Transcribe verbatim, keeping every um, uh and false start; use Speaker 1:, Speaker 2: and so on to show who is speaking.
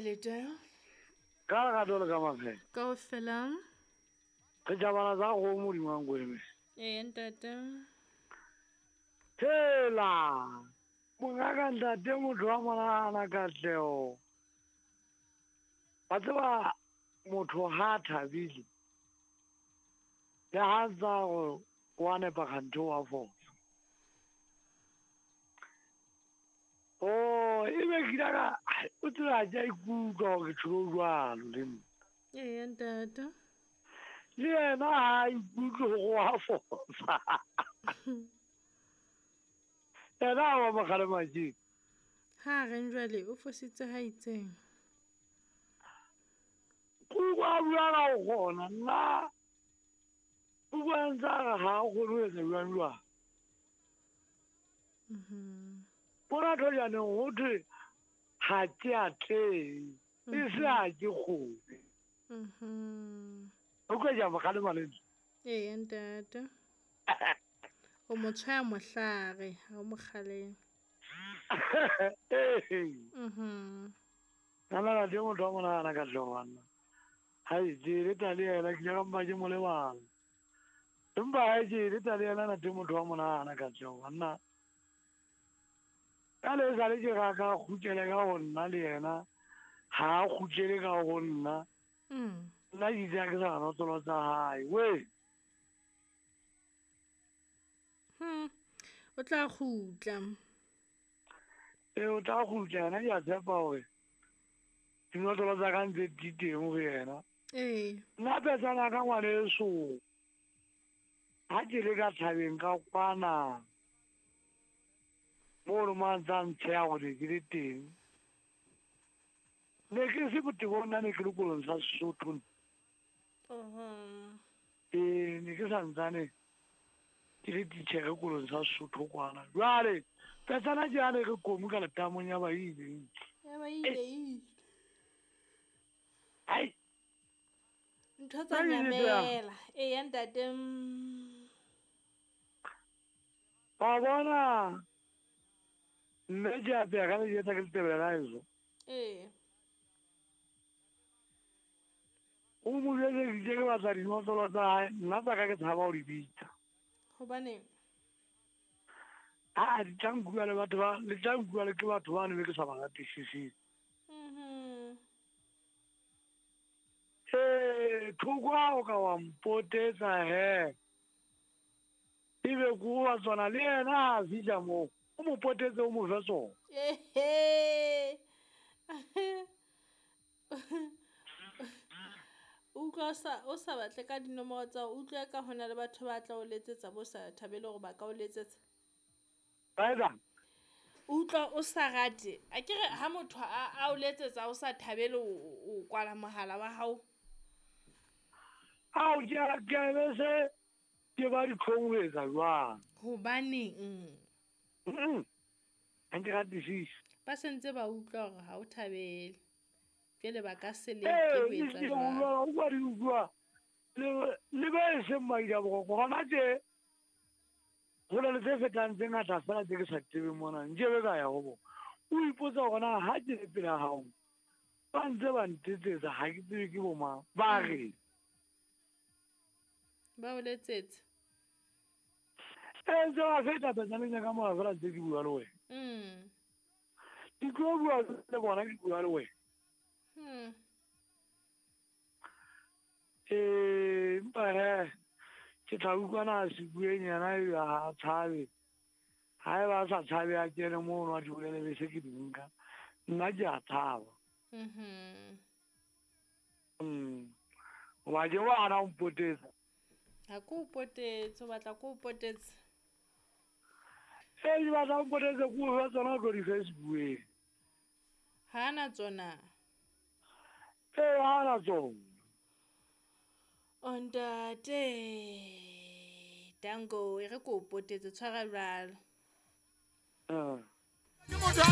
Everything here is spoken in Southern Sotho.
Speaker 1: lete?
Speaker 2: Ka lerato le ka maphelo.
Speaker 1: Kaofela.
Speaker 2: Re jabala tsa kgomo modimo wa nkweme.
Speaker 1: Ee ntate.
Speaker 2: Hela mongaka ntate motho wa monahana Katleho. Wa tseba motho ha a thabile le ha ntsa gore wa nepa kganthe wa fosa. Oh, e be ke ile ka o tseba ke a ikutlwa gore ke tsholo jwalo le nna.
Speaker 1: Ee ntate.
Speaker 2: Le yena ha a ikutlwe gore wa fosa. Yena ha wa mo kgalema tje.
Speaker 1: Ha reng jwale o fositse ha itseng.
Speaker 2: Kuku a bua ka go kgona nna o bua ntse a re ha a kgone ho etsa jwang jwang.
Speaker 1: Mhm.
Speaker 2: Bona thojaneng ho thwe ha ke atlehe e se ha ke kgone.
Speaker 1: Mhm.
Speaker 2: O utlwa ke a mo kgalema le nna.
Speaker 1: Ee ntate. O mo tshwaya mohlare ha o mo kgalema.
Speaker 2: Ee.
Speaker 1: Mhm.
Speaker 2: Nna ntate motho wa monahana Katleho banna. Hai ke eleta le yena ke ile ka mpa ke mo lebala. Empa ha ke eleta le yena ntate motho wa monahana Katleho banna. Ka le sale ke ra ka kgutlele ka ho nna le yena ha a kgutlele ka ho nna.
Speaker 1: Mm.
Speaker 2: Nna ke itse ha ke sa notlolo tsa hae. Wee.
Speaker 1: Hmm. O tla kgutla.
Speaker 2: Ee, o tla kgutla yena ke a tshepa hore dinotlolo tsa ka ntse di teng ho yena.
Speaker 1: Ee.
Speaker 2: Nna petsana ka ngwaneso ha ke le ka thabeng ka kwana mono mo a ntsa ntsheha hore ke le teng. Ne ke se botebong nna ne ke le kolong sa Sesotho.
Speaker 1: Mhm.
Speaker 2: Ee, ne ke santsane ke le titjhere kolong sa Sesotho kwana. Jwale petsana ke yane re komu ka letamong ya ba ile.
Speaker 1: Ya ba ile ile.
Speaker 2: Ai.
Speaker 1: Ntho tsa nyamela. Ee ntate.
Speaker 2: Wa bona mme ke a pheha ka lejwe ke letebele la heso.
Speaker 1: Ee.
Speaker 2: O mo jwetse ke batla dinotlolo tsa hae, nna tsa ka ke tshaba ho di bitsa.
Speaker 1: Hobaneng?
Speaker 2: Ah, di tla nkuwa le batho ba, le tla nkuwa le ke batho bano be ke sa ba ratisiseng.
Speaker 1: Mhm.
Speaker 2: Ee, thoko ha o ka wa mpotetsa he. Ebe ko wa tsona le yena ha a fihla moo, o mo potetse o mo fe tsona.
Speaker 1: Ehe. Utlwa o sa o sa batle ka dinomoro tsa o utlwe ka hona le batho ba tla o letsetsa bo sa thabele hore ba ka o letsetsa.
Speaker 2: Ba etsang?
Speaker 1: Utlwa o sa rate. A ke re ha motho a a o letsetsa o sa thabele o o kwala mohala wa hao.
Speaker 2: Ao ke a ke a be se ke ba ditlhong ho etsa jwang.
Speaker 1: Hobaneng?
Speaker 2: Mm. Ha ke ratisise.
Speaker 1: Ba sentse ba utlwa hore ha o thabele. Jwale ba ka se leke
Speaker 2: Ee,
Speaker 1: ho etsa
Speaker 2: ke
Speaker 1: jwalo.
Speaker 2: utlwa o kwa di utlwa le le ba e seng maida boroko hona tje ho na le tse fetang tse ngata fela tse ke sa tsebeng mona nkebe ka ya ho bona. O ipotsa hore na ha ke le pela hao ba ntse ba ntetsetsa ha ke tsebe ke bo mang ba re
Speaker 1: Ba o letsetse.
Speaker 2: Ee, ntse ba feta petsaneng ya ka mona fela ntse ke bua le wena.
Speaker 1: Mm.
Speaker 2: Ke tlo bua le bona ke bua le wena.
Speaker 1: Hmm.
Speaker 2: Ee, empa he ke tla utlwana a se bueng yena ebe ha a tshabe. Ha eba a sa tshabe a kene mono a di bolele be se ke di nka. Nna ke a tshaba.
Speaker 1: Mhm.
Speaker 2: Mm. Hoba ke wa hana ho mpotetsa.
Speaker 1: Ha ke o potetse, o batla ke o potetse.
Speaker 2: Ee, ke batla o mpotetse ke o fe tsona o tlo di Facebookeng.
Speaker 1: Ha na tsona.
Speaker 2: Ee, ha na tsona.
Speaker 1: O ntate. Danko, e re ke o potetse tshwara jwalo.
Speaker 2: Mm.
Speaker 3: Ke motho a